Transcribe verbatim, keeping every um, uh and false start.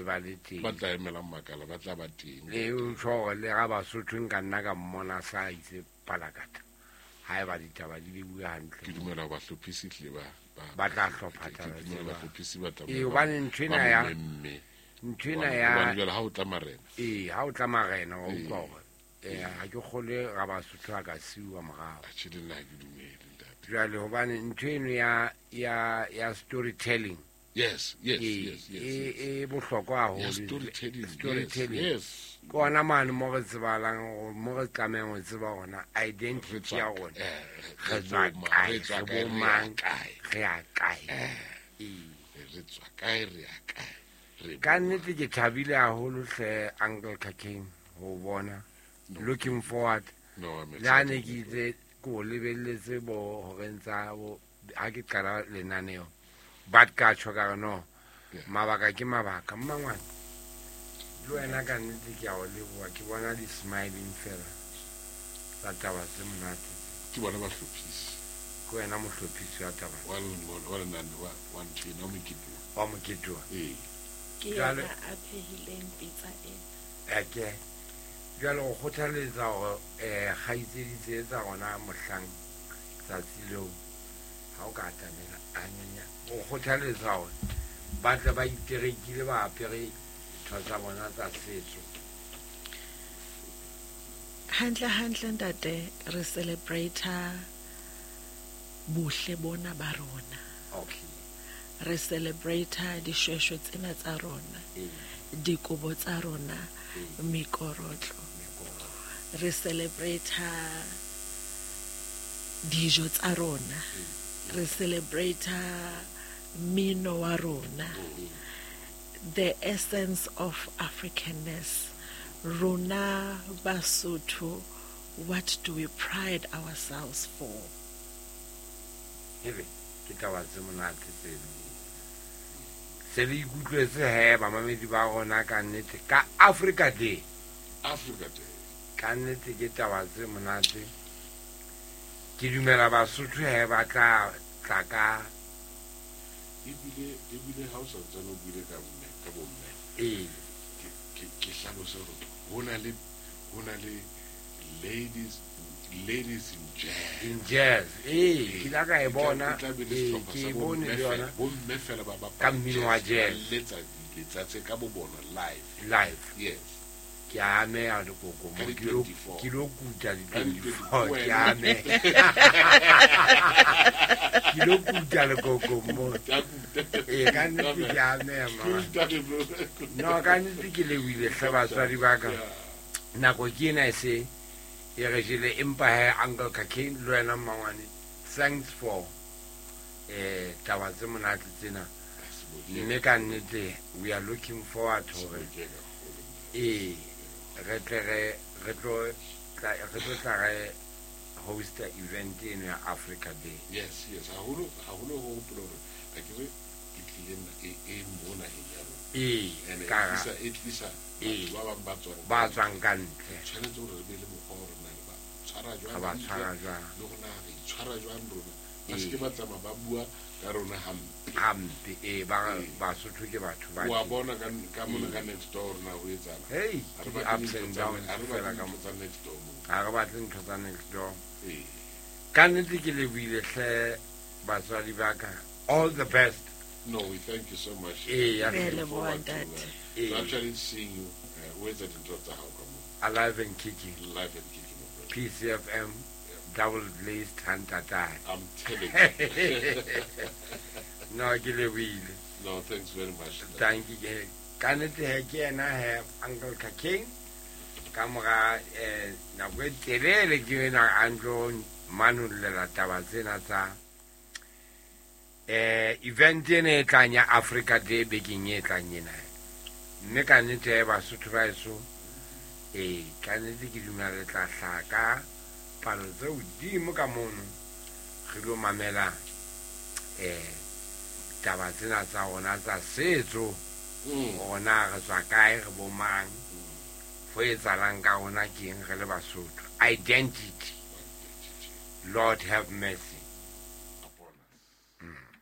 ba le teng. Ba tla emelang makala ba tla ba teng. Le o tjho hore le ga Basotho nka nna ka mmona sa itse palakata. Ha eba ditaba di bue hantle. Ke dumela ba hlophisi tle ba ba tla hlopha taba tseo. Ba hlophisi ba tla. E hobane ntho ena ya ntho ena ya jwale ha o tla marena. Ee, ha o tla marena wa utlwa hore eh ha ke kgole ga Basotho a ka siuwa morao. Atjhe le nna ke dumele ntate. Jwale hobane ntho eno ya ya ya storytelling. Yes, yes, yes, yes. E e bohlokwa haholo. Storytelling. Storytelling. Yes. Ke ona mane mo re tsebalang mo re tlamehang ho tseba hona identity ya rona. Re tswa kae, re bo mang, re ya kae. Ee, re tswa kae, re ya kae. Ka nnete ke thabile haholo hle Uncle Kakeng ho bona. Looking forward. No, I'm Le ha ne ke itse ko lebelletse bo horeng tsa bo ha ke qala lenaneo. But ka tjho ka re no. Mabaka ke mabaka mmangwana. Le wena ka nnete ke a o leboha, ke bona di smiling fela tsa taba tse monate. Ke bona bahlophisi. Ke wena mohlophisi wa taba. Wa wa lenane wa wa ntho ena wa mokete. Wa mokete wa. Ee. Ke yena a phehileng pitsa ena. Eke. Jwale o kgothaletsa hore eh kgaitsedi tse tsa rona mohlang tsatsi leo ha o ka atamela anyanya o kgothaletsa hore ba tle ba iterekile ba apere ntho tsa bona tsa setso. Hantle hantle ntate re celebrate bohle bona ba rona. Okay. Re celebrate dishweshwe tsena tsa rona. Dikobo tsa rona, mekorotlo. Re celebrate dijo tsa rona. Re celebrate mmino wa rona. The essence of Africanness. Rona Basotho, what do we pride ourselves for? Hele, ke taba tse monate tseno. Se le ikutlwetse he bamamedi ba rona ka nnete ka Africa Day. Africa Day. Ka nnete ke taba tse monate. Ke dumela Basotho he ba tla tla ka ebile ebile ha o sa ntsane o buile ka mme ka bomme. Ee. Ke ke hlalose hore ho na le ho na le ladies ladies in jazz. In jazz. Ee, ke la ka e bona. Ee, ke bone le yona. Bomme fela ba bapala ka mmino wa jazz. Letsa letsa tse ka bo bona live. Live. Yes. Ke a ameha lekoko mo ke lo ke lo kuta di twenty-four ke a ameha. Ke lo kuta lekoko mo. Ee, ka nnete ke a ameha ma. No, ka nnete ke lebohile hle batswadi ba ka. Nako ke ena e se e re jele empa he Uncle Kakeng le wena mmangwane thanks for eh taba tse monate tsena. Mme ka nnete we are looking forward hore ee re tle re re tlo re tlo tla re host event eno ya Africa Day. Yes, yes, haholo haholo ho hopola hore a ke re ke tlile e e mo naheng ya rona. Ee, ka tlisa e tlisa batho ba bang ba tswang ba tswang ka ntle. Tshwanetse hore re be le mokgwa wa rona ba tshwara jwang, ba tshwara jwang, le rona re itshwara jwang rona. Ba se ke ba tsamaya ba bua ka rona hampe. Hampe, ee, ba Basotho ke batho ba. Wa bona ka ka mona ka next door rona ho etsahala. Hey, ke di ups and downs fela ka mo tsa next door mo. Ha re batle ntho tsa next door. Ee. Ka nnete ke lebohile hle batswadi ba ka. All the best. No, we thank you so much. Ee, ya re leboha ntate. So actually seeing you uh, where's the ntho tsa hao ka mo. Alive and kicking. Alive and kicking, my brother. P C F M. Double glazed hantata. I'm telling you. No, ke lebohile. No, thanks very much. Thank you. Ka nnete he ke yena he Uncle Kakeng. Ka mora eh nako e telele ke ena a ntlo manollela taba tsena tsa eh event ena e tlang ya Africa Day bekeng e tlang ena. Mme ka nnete he Basotho ba heso ee ka nnete ke dumela le tla hlaha ka palo tse hodimo ka mono re lo mamela eh taba tsena tsa rona tsa setso. Rona re tswa kae, re bo mang, ho etsahalang ka rona ke eng re le Basotho. Identity. Lord have mercy.